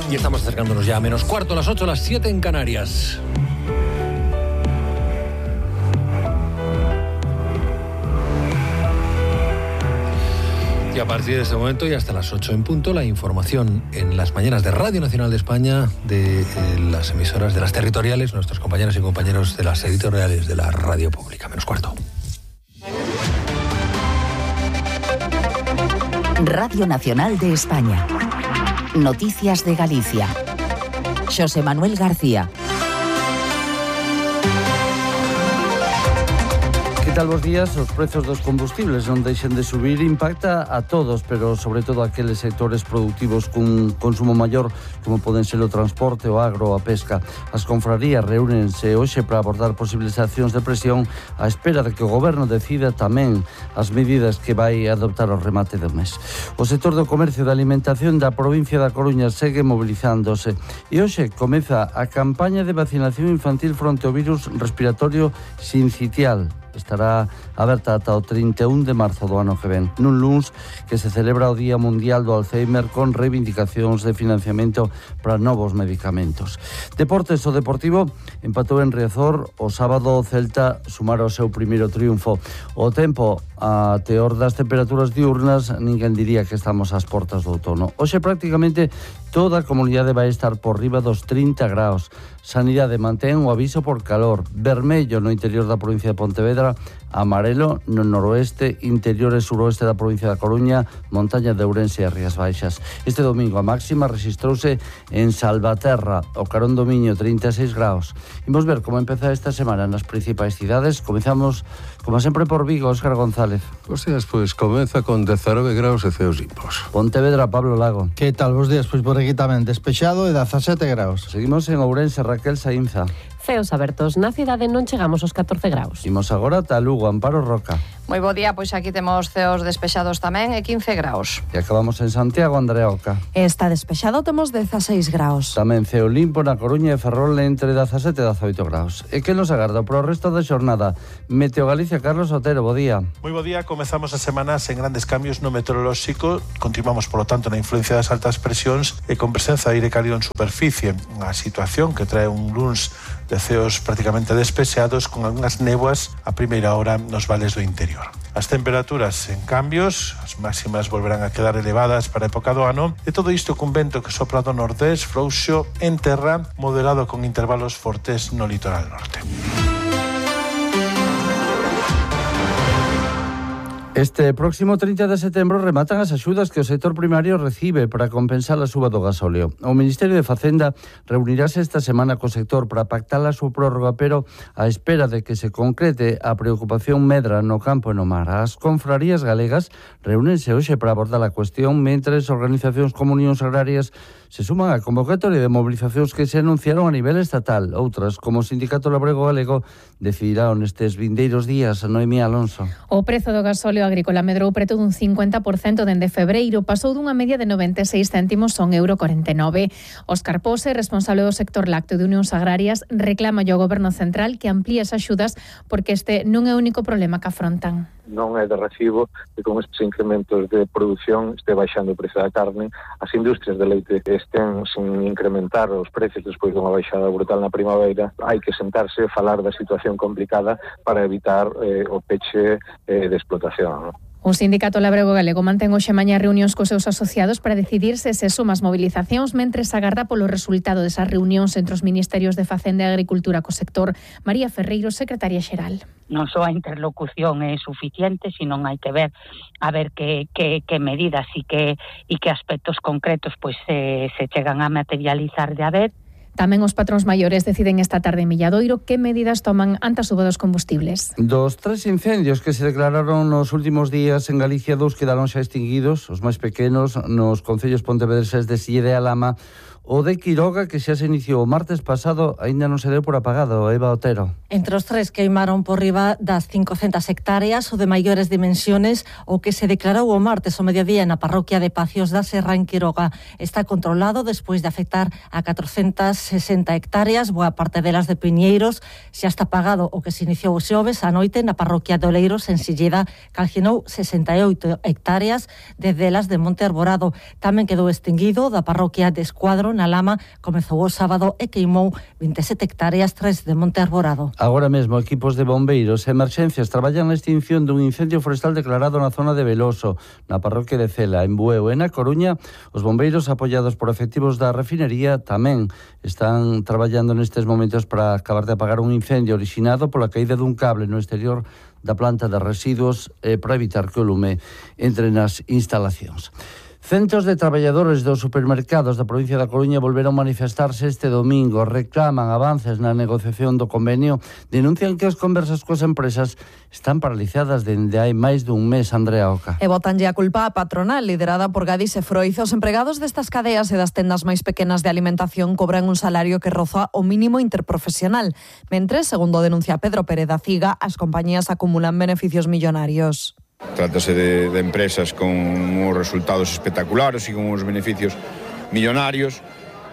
Y estamos acercándonos ya a menos cuarto, a las 8, a las 7 en Canarias. Y a partir de este momento y hasta las 8 en punto, la información en las mañanas de Radio Nacional de España, de las emisoras de las territoriales, nuestros compañeros y compañeros de las editoriales de la radio pública. Menos cuarto. Radio Nacional de España. Noticias de Galicia. Xosé Manuel García. Que tal bos días? Os prezos dos combustibles non deixen de subir, impacta a todos, pero sobre todo a aqueles sectores productivos cun consumo maior, como poden ser o transporte, o agro, a pesca. As confrarías reúnense hoxe para abordar posibles accións de presión á espera de que o goberno decida tamén as medidas que vai adoptar ao remate do mes. O sector do comercio e da alimentación da provincia da Coruña segue mobilizándose e hoxe comeza a campaña de vacinación infantil fronte ao virus respiratorio sincitial. Estará aberta ata o 31 de marzo do ano que ven, nun luns que se celebra o Día Mundial do Alzheimer con reivindicacións de financiamento para novos medicamentos. Deportes, o Deportivo empatou en Riazor o sábado, o Celta sumara o seu primeiro triunfo. O tempo, a teor das temperaturas diurnas, ninguén diría que estamos ás portas do outono. Hoxe prácticamente toda a comunidade vai estar por riba dos 30 graus. Sanidade mantén o aviso por calor, vermello no interior da provincia de Pontevedra, amarelo no noroeste, interior e suroeste da provincia da Coruña, montaña de Ourense e Rías Baixas. Este domingo a máxima rexistrouse en Salvaterra, o Carón do Miño, 36 graus. Imos ver como empeza esta semana nas principais cidades. Comezamos, como sempre, por Vigo, Óscar González. Bos días, pois comeza con 19 graus e ceos limpos. Pontevedra, Pablo Lago. Que tal, bos días? Pois por aquí tamén despexado e 17 graus. Seguimos en Ourense, Raquel Saínza. Ceos abertos, na cidade non chegamos aos 14 graus. Imos agora ata Lugo, Amparo Roca. Moi bo día, pois aquí temos ceos despexados tamén e 15 graus. E acabamos en Santiago, Andrea Oca. Está despexado, temos 16 graus. Tamén ceo limpo na Coruña e Ferrol entre 17 e 18 graus. E que nos agarda pro resto da xornada? Meteo Galicia, Carlos Otero, bo día. Moi bo día, comezamos a semana sen grandes cambios no meteorolóxico. Continuamos, polo tanto, na influencia das altas presións e con presenza de aire cálido en superficie. Unha situación que trae un luns de ceos prácticamente despexados con algunhas néboas a primeira hora nos vales do interior. As temperaturas en cambios, as máximas volverán a quedar elevadas para a época do ano, e todo isto cun vento que sopra do nordés, frouxo en terra, moderado con intervalos fortes no litoral norte. Este próximo 30 de setembro rematan as axudas que o sector primario recibe para compensar a suba do gasóleo. O Ministerio de Facenda reunirase esta semana co sector para pactar a súa prórroga, pero á espera de que se concrete a preocupación medra no campo e no mar. As confrarías galegas reúnense hoxe para abordar a cuestión, mentres organizacións como Unións Agrarias se suman á convocatoria de movilizacións que se anunciaron a nivel estatal. Outras, como o Sindicato Labrego Galego, decidirán nestes vindeiros días. Noemí Alonso. O prezo do gasóleo agrícola medrou preto dun 50% dende febreiro, pasou dunha media de 96 céntimos a €1,49. Óscar Pose, responsable do sector lácteo de Unións Agrarias, reclama ao Goberno Central que amplíe as axudas porque este non é o único problema que afrontan. Non é de recibo que con estes incrementos de produción este baixando o prezo da carne, as industrias de leite estén sin incrementar os precios despois dunha baixada brutal na primavera. Hai que sentarse e falar da situación complicada para evitar o peche de explotación. O Sindicato Labrego Galego mantén hoxe mañá reunións cos seus asociados para decidir se son as mobilizacións, mentres agarda polo resultado desas reunións entre os Ministerios de Facenda e Agricultura co sector. María Ferreiro, secretaria xeral. Non só a interlocución é suficiente, sino hai que ver a ver que medidas e que aspectos concretos pois se chegan a materializar de haber. Tamén os patróns maiores deciden esta tarde en Milladoiro que medidas toman ante a suba dos combustibles. Dos 3 incendios que se declararon nos últimos días en Galicia, 2 quedaron xa extinguidos, os máis pequenos nos concellos pontevedreses de Sille e Alama. O de Quiroga, que xa se iniciou o martes pasado, aínda non se deu por apagado. Eva Otero. Entre os 3 queimaron por riba das 500 hectáreas, o de maiores dimensiones, o que se declarou o martes ao mediodía na parroquia de Pacios da Serra en Quiroga. Está controlado despois de afectar a 460 hectáreas, boa parte delas de piñeiros. Xa está apagado o que se iniciou o xoves a noite na parroquia de Oleiros en Silleda, calcinou 68 hectáreas, de delas de Monte Arborado. Tamén quedou extinguido da parroquia de Escuadro na Lama comezou o sábado e queimou 27 hectáreas 3 de monte arborado. Agora mesmo equipos de bombeiros e emerxencias traballan na extinción dun incendio forestal declarado na zona de Veloso, na parroquia de Cela, en Bueu e na Coruña. Os bombeiros, apoiados por efectivos da refinería, tamén están traballando nestes momentos para acabar de apagar un incendio orixinado pola caída dun cable no exterior da planta de residuos para evitar que o lume entre nas instalacións. Centos de traballadores dos supermercados da provincia da Coruña volveron manifestarse este domingo, reclaman avances na negociación do convenio, denuncian que as conversas coas empresas están paralizadas dende hai máis dun mes. Andrea Oca. E botanlle a culpa a patronal, liderada por Gadis e Froiz. Os empregados destas cadeas e das tendas máis pequenas de alimentación cobran un salario que roza o mínimo interprofesional, mentres, segundo denuncia Pedro Pérez da Ciga, as compañías acumulan beneficios millonarios. Trátase de empresas con uns resultados espectaculares e con uns beneficios millonarios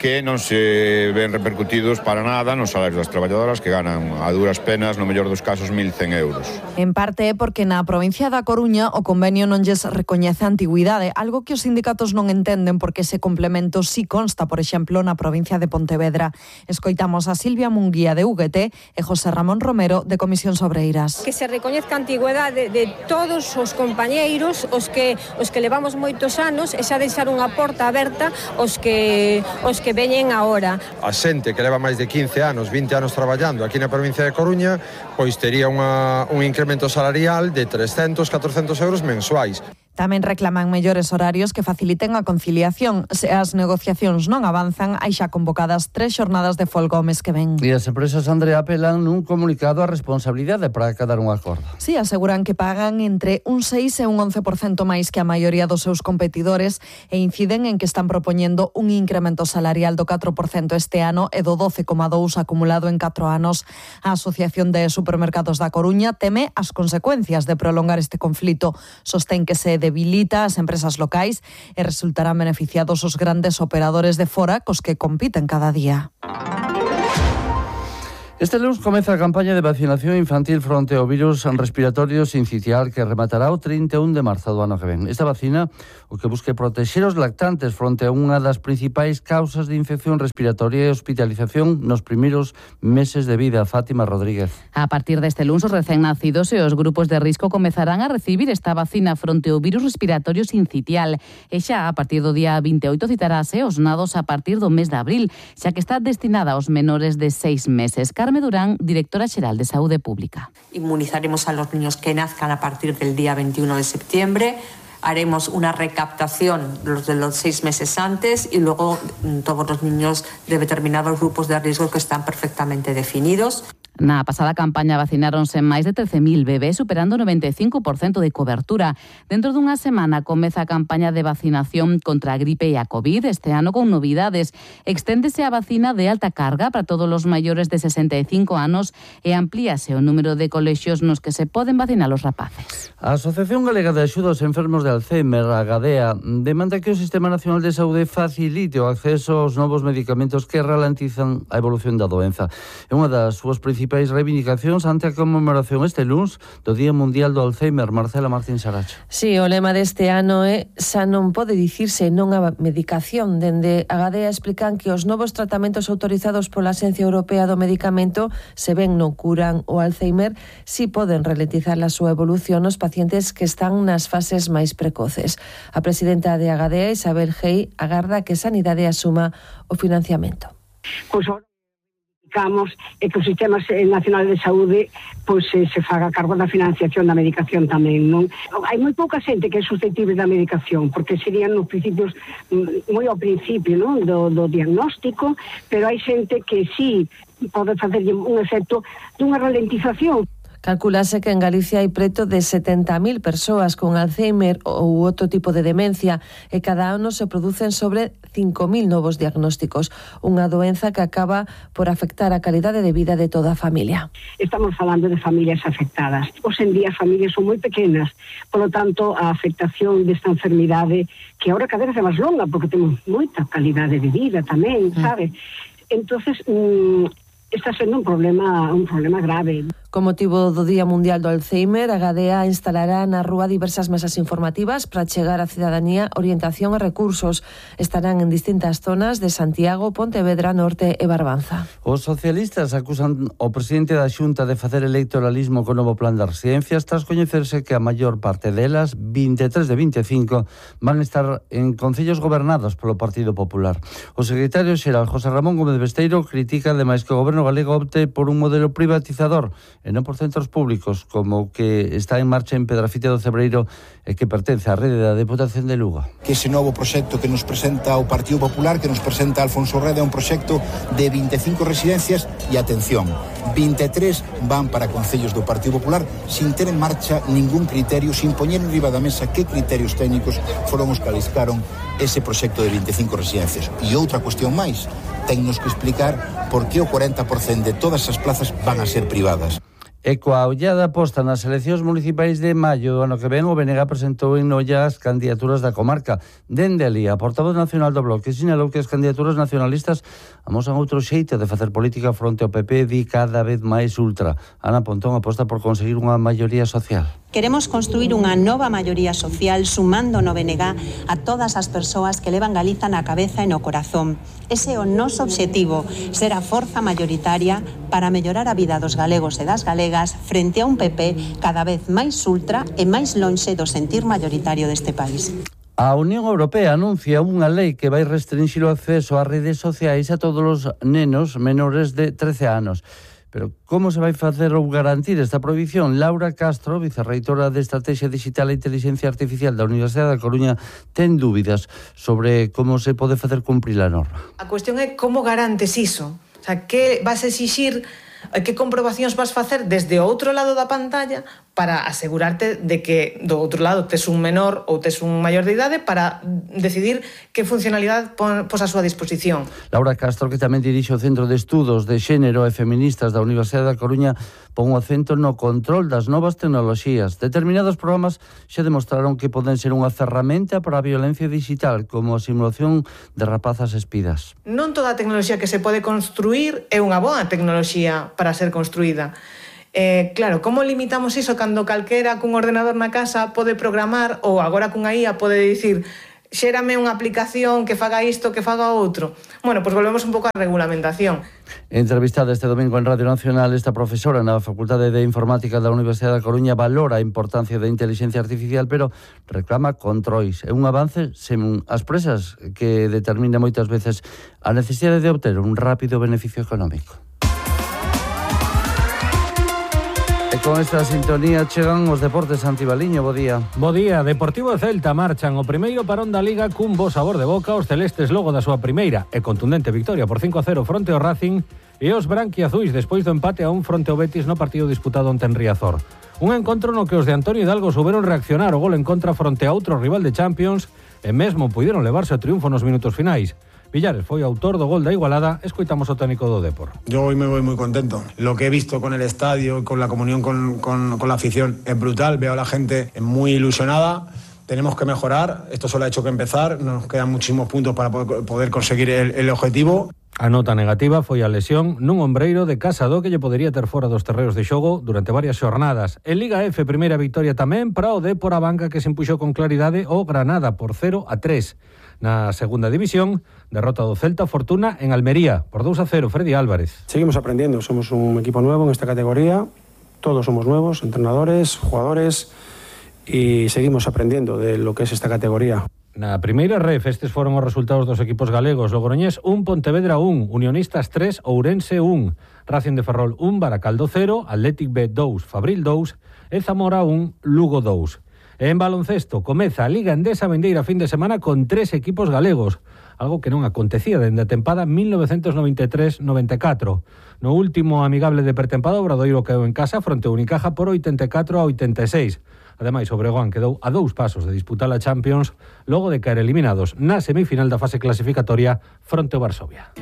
que non se ven repercutidos para nada nos salarios das traballadoras, que ganan a duras penas, no mellor dos casos, 1.100 euros. En parte é porque na provincia da Coruña o convenio non lles recoñece a antigüidade, algo que os sindicatos non entenden porque ese complemento sí consta, por exemplo, na provincia de Pontevedra. Escoitamos a Silvia Munguía de UGT e José Ramón Romero de Comisións Obreiras. Que se recoñezca a antigüidade de todos os compañeiros, os que levamos moitos anos, e xa deixar unha porta aberta os que veñen agora. A xente que leva máis de 15 anos, 20 anos traballando aquí na provincia de Coruña, pois tería un incremento salarial de 300, 400 euros mensuais. Tamén reclaman mellores horarios que faciliten a conciliación. Se as negociacións non avanzan, hai xa convocadas 3 xornadas de folga o mes que ven. E as empresas, Andrea, apelan nun comunicado a responsabilidade para acadar un acordo. Sí, aseguran que pagan entre un 6 e un 11% máis que a maioría dos seus competidores e inciden en que están propoñendo un incremento salarial do 4% este ano e do 12,2% acumulado en 4 anos. A Asociación de Supermercados da Coruña teme as consecuencias de prolongar este conflito. Sostén que se debilita as empresas locais e resultarán beneficiados os grandes operadores de fora cos que compiten cada día. Este lunes comeza a campaña de vacinación infantil fronte ao virus respiratorio sincicial que rematará o 31 de marzo do ano que ven. Esta vacina o que busca protexer os lactantes fronte a unha das principais causas de infección respiratoria e hospitalización nos primeiros meses de vida. Fátima Rodríguez. A partir deste lunes, os recén nacidos e os grupos de risco comezarán a recibir esta vacina fronte ao virus respiratorio sincicial. E xa a partir do día 28 citarase os nados a partir do mes de abril, xa que está destinada aos menores de 6 meses. Carme Durán, directora xeral de Saúde Pública. Inmunizaremos a los niños que nazcan a partir del día 21 de septiembre. Haremos una recaptación de los 6 meses antes y luego todos los niños de determinados grupos de riesgo que están perfectamente definidos. Na pasada campaña vacináronse máis de 13.000 bebés, superando o 95% de cobertura. Dentro dunha semana comeza a campaña de vacinación contra a gripe e a COVID, este ano con novidades. Exténdese a vacina de alta carga para todos os maiores de 65 anos e amplíase o número de colexios nos que se poden vacinar os rapaces. A Asociación Galega de Axuda aos Enfermos de Alzheimer, a Gadea, demanda que o Sistema Nacional de Saúde facilite o acceso aos novos medicamentos que ralentizan a evolución da doenza. É unha das súas principais reivindicacións ante a conmemoración este lunes do Día Mundial do Alzheimer. Marcela Martín Saracho. Sí, o lema deste ano é xa non pode dicirse non a medicación. Dende a Gadea explican que os novos tratamentos autorizados pola Axencia Europea do Medicamento, se ben non curan o Alzheimer, si poden ralentizar a súa evolución nos pacientes que están nas fases máis precoces. A presidenta de Agadea, Isabel Gei, agarda que Sanidade asuma o financiamento. E que o Sistema Nacional de Saúde se faga cargo da financiación da medicación tamén, non? Hai moi pouca xente que é susceptible da medicación, porque serían nos principios, moi ao principio, non, do diagnóstico, pero hai xente que sí pode facer un efecto dunha ralentización. Calculase que en Galicia hai preto de 70.000 persoas con Alzheimer ou outro tipo de demencia e cada ano se producen sobre 5.000 novos diagnósticos, unha doenza que acaba por afectar a calidade de vida de toda a familia. Estamos falando de familias afectadas. Hoxe en día as familias son moi pequenas, polo tanto a afectación desta enfermidade, que agora cada vez é máis longa porque temos moita calidade de vida tamén, sabe? Entonces está sendo un problema grave. Con motivo do Día Mundial do Alzheimer, a Gadea instalará na rúa diversas mesas informativas para chegar á cidadanía orientación e recursos. Estarán en distintas zonas de Santiago, Pontevedra, Norte e Barbanza. Os socialistas acusan o presidente da Xunta de facer electoralismo co novo plan de residencias tras coñecerse que a maior parte delas, 23 de 25, van estar en concellos gobernados polo Partido Popular. O secretario xeral José Ramón Gómez Besteiro critica ademais que o goberno galego opte por un modelo privatizador e non por centros públicos, como que está en marcha en Pedrafite do Cebreiro e que pertence á rede da Deputación de Lugo. Que ese novo proxecto que nos presenta o Partido Popular, que nos presenta Alfonso Reda, é un proxecto de 25 residencias e, atención, 23 van para concellos do Partido Popular sin ter en marcha ningún criterio, sin poñer en riba da mesa que criterios técnicos foron os que aliscaron ese proxecto de 25 residencias. E outra cuestión máis, tennos que explicar por que o 40% de todas as plazas van a ser privadas. E coa ollada posta nas eleccións municipais de maio do ano que ven, o BNG presentou en Noia as candidaturas da comarca. Dende ali, a portavoz nacional do Bloque sinalou que as candidaturas nacionalistas amosan outro xeito de facer política fronte ao PP, di cada vez máis ultra. Ana Pontón aposta por conseguir unha maioría social. Queremos construir unha nova maioría social sumando no BNG a todas as persoas que levan Galiza na cabeza e no corazón. Ese é o noso obxectivo, ser a forza maioritaria para mellorar a vida dos galegos e das galegas frente a un PP cada vez máis ultra e máis lonxe do sentir maioritario deste país. A Unión Europea anuncia unha lei que vai restringir o acceso ás redes sociais a todos os nenos menores de 13 anos. Pero como se vai facer ou garantir esta prohibición? Laura Castro, vicerreitora de Estrategia Digital e Inteligencia Artificial da Universidade da Coruña, ten dúbidas sobre como se pode facer cumprir a norma. A cuestión é como garantes iso. O sea, que vas a exixir, que comprobacións vas facer desde o outro lado da pantalla para asegurarte de que do outro lado tes un menor ou tes un maior de idade para decidir que funcionalidade pos a súa disposición. Laura Castro, que tamén dirixe o Centro de Estudos de Xénero e Feministas da Universidade da Coruña, pon o acento no control das novas tecnoloxías. Determinados programas xa demostraron que poden ser unha ferramenta para a violencia digital, como a simulación de rapazas espidas. Non toda a tecnoloxía que se pode construir é unha boa tecnoloxía para ser construída. Claro, como limitamos iso cando calquera cun ordenador na casa pode programar ou agora cunha IA pode dicir xérame unha aplicación que faga isto, que faga outro? Bueno, pois volvemos un pouco á regulamentación. Entrevistada este domingo en Radio Nacional, esta profesora na Facultade de Informática da Universidade da Coruña valora a importancia da inteligencia artificial, pero reclama controis. É un avance sen as presas que determina moitas veces a necesidade de obter un rápido beneficio económico. E con esta sintonía chegan os deportes. Antibaliño, bo día. Bo día. Deportivo e Celta marchan o primeiro parón da Liga cun bo sabor de boca. Os celestes logo da súa primeira e contundente victoria por 5-0 fronte ao Racing, e os branquiazuis despois do empate a 1 fronte ao Betis no partido disputado onte en Riazor. Un encontro no que os de Antonio Hidalgo souberon reaccionar o gol en contra fronte a outro rival de Champions e mesmo puideron levarse o triunfo nos minutos finais. Villares foi autor do gol da igualada. Escoitamos o técnico do Depor. Yo hoy me voy muy contento. Lo que he visto con el estadio, con la comunión con la afición, es brutal. Veo a la gente muy ilusionada. Tenemos que mejorar. Esto solo ha hecho que empezar. Nos quedan muchísimos puntos para poder conseguir el objetivo. A nota negativa foi a lesión nun ombreiro de Casado que lle podería ter fora dos terreos de xogo durante varias xornadas. En Liga F, primeira victoria tamén para o Depor a banca, que se impuxou con claridade o Granada por 0-3. Na segunda división, derrota do Celta Fortuna en Almería por 2-0, Freddy Álvarez. Seguimos aprendiendo, somos un equipo nuevo en esta categoría, todos somos nuevos, entrenadores, jugadores, y seguimos aprendiendo de lo que es esta categoría. Na primeira ref, estes foron os resultados dos equipos galegos. Logroñés 1, Pontevedra 1, Unionistas 3, Ourense 1, Racing de Ferrol 1, Baracaldo 0, Athletic B 2, Fabril 2 e Zamora 1, Lugo 2. En baloncesto, comeza a Liga Endesa vindeira fin de semana con 3 equipos galegos, algo que non acontecía dende a tempada 1993-94. No último amigable de pretempada, o Obradoiro quedou en casa fronte ao Unicaja por 84-86. Ademais, o Breogán quedou a 2 pasos de disputar a Champions logo de caer eliminados na semifinal da fase clasificatoria fronte ao Varsovia.